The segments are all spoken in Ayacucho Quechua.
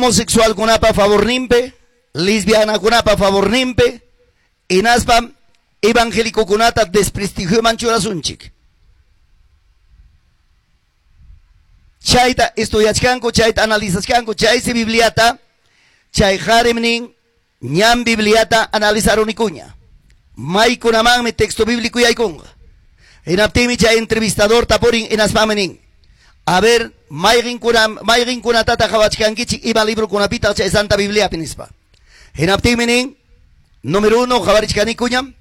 Homosexualkunapa favorninpi, lesbianakunapa favorninpi, hinaspam evangélicokunata desprestigioman churasunchik. Chayta estudiachkanku, chayta analizachkanku, chaysi Bibliata, chay qarim nin, ñam Bibliata analizarunikuña. Maykunamanmi texto bíblico yaykunqa. Hinaptinmi chay entrevistador tapurin hinaspami nin. A ver, mayqinkunatataq qhawachkankichik ima librokunapitaq chay Santa Bibliapi nispa. Hinaptinmi nin, número 1 qhawarichkanikuñam,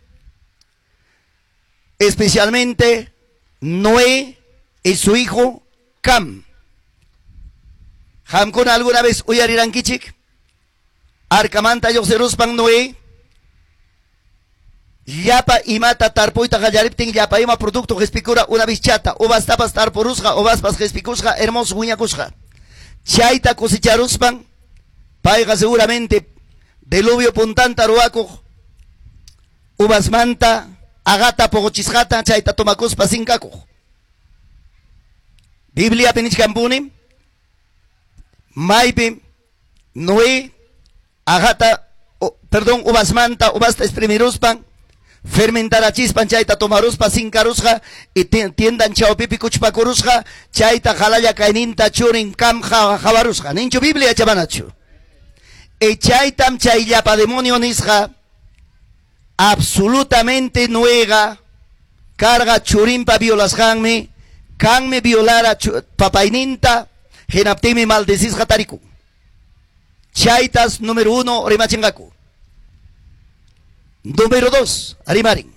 especialmente Noé y su hijo Cam. Qamkuna alguna vez uyarirankichik? Arkamanta lluqsiruspan Noé llapa imata tarpuyta qallariptin llapa ima producto qhispikura una vez chata, uvastapas tarpurusqa, uvaspas qhispikusqa, hermoso wiñakusqa. Chayta cosecharuspan payqa seguramente diluvio puntanta ruwakuq uvasmanta agata puquchisqata chayta tomakuspa sinkakuq. Bibliapi nichkanpuni maypi Noé agata, perdón, uvasmanta uvasta exprimiruspan fermentarachispan chayta tomaruspa sinkarusqa y tiendan chawpipi kuchpakurusqa chayta qalalla kayninta churin Cam qawarusqa. Ninchu Biblia chabanachu. E chaytam chay llapa demonio nisqa absolutamente Noega carga churinpa violasqanmi kanmi violara papayninta hinaptinmi maldecisqa tarikun. Chaytas número 1 rimachinqaku. Número 2, rimarin.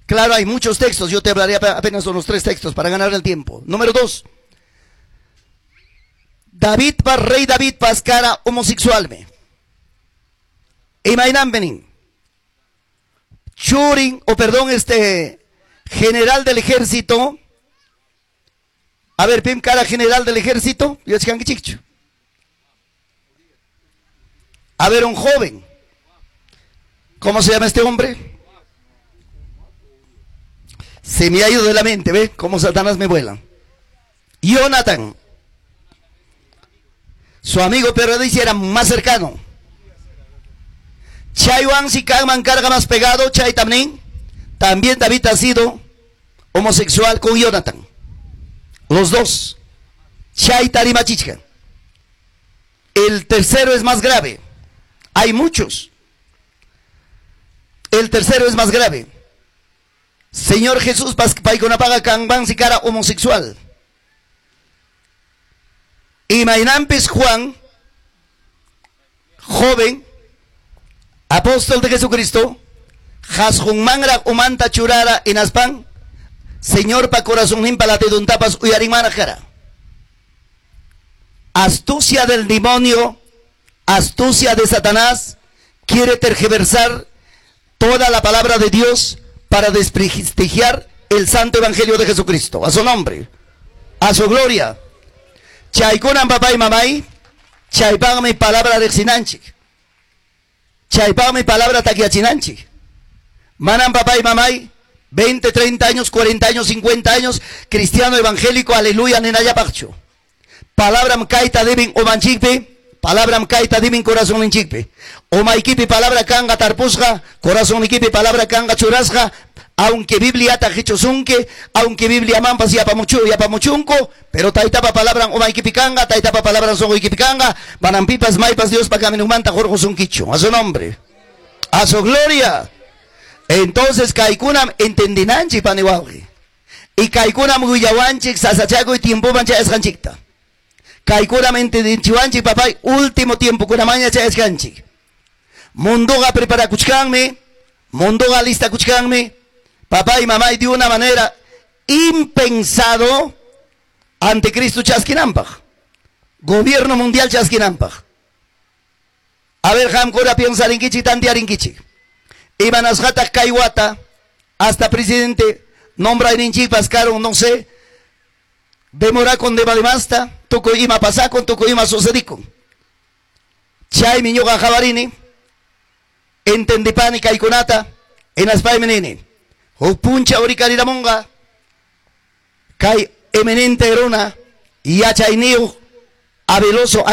Claro, hay muchos textos, yo te hablaré apenas unos 3 textos para ganar el tiempo. Número 2, David pa rey David pascara homosexualme. Imaynampenin. Churin, o perdón, general del ejército. A ver, pim cara general del ejército. Yachkankichikchu. A ver, un joven. ¿Cómo se llama este hombre? Se me ha ido de la mente, ¿ve? Cómo Satanás me vuela. Jonathan. Su amigo pero dice era más cercano. Chaywan si kanman carga más pegado, Chay también. También David ha sido homosexual con Jonathan. Los dos. Chay Tarimachichka. El tercero es más grave. Hay muchos. El tercero es más grave. Señor Jesús, paykunapaqa kanmansi cara homosexual. Imaynampis Juan, joven, apóstol de Jesucristo, qhasqunmanraq umanta churara hinaspan, Señor pa corazonninpa latiduntapas uyarinmanraq kara. Astucia del demonio, astucia de Satanás, quiere tergiversar toda la palabra de Dios para desprestigiar el santo evangelio de Jesucristo. A su nombre, a su gloria. Chaykunan papá y mamay, chaypaqmi palabra riqsinanchik. Chaypaqmi palabra takyachinanchik. Manam papá y mamay, 20, 30 años, 40 años, 50 años, cristiano evangélico, aleluya, ninallapaqchu. Palabram kayta deben umanchikpi, palabram kayta deben corazonninchikpi. Umaykipi palabra kanga tarpusqa, corazonnikipi palabra kanga churasqa, aunque Bibliata qichusunki, aunque Biblia mampas yapamuchunku, pero taytapa palabran umaykipi kanga, taytapa palabran sunquykipi kanga, manam pipas maypas Diospa caminunmanta hurqusunkichu. A su nombre, a su gloria. Entonces kaykunam entendinanchik pani wawqi. Y kaykunam willawanchik sasachakuy tiempoman chayasqanchikta. Kaykunam entendinchiwanchik papay último tiempo kunamaña chayasqanchik. Mundoqa preparakuchkanmi, mundoqa listakuchkanmi, papá y mamá de una manera impensado anticristo chaskinanpaq. Gobierno mundial chaskinanpaq. A ver, qamkuna piensarinkichik, tantearinkichik. Imanasqataq kay wata hasta presidente nombrayninchikpas karon, no sé, demorakun demasta, tukuy ima pasakun, tukuy ima sucedikun. Chaymi ñuqa qhawarini, entendipani kaykunata, hinaspaymi nini. Huk punchaw rikariramunqa kay eminente runa yachayniyuq habiloso.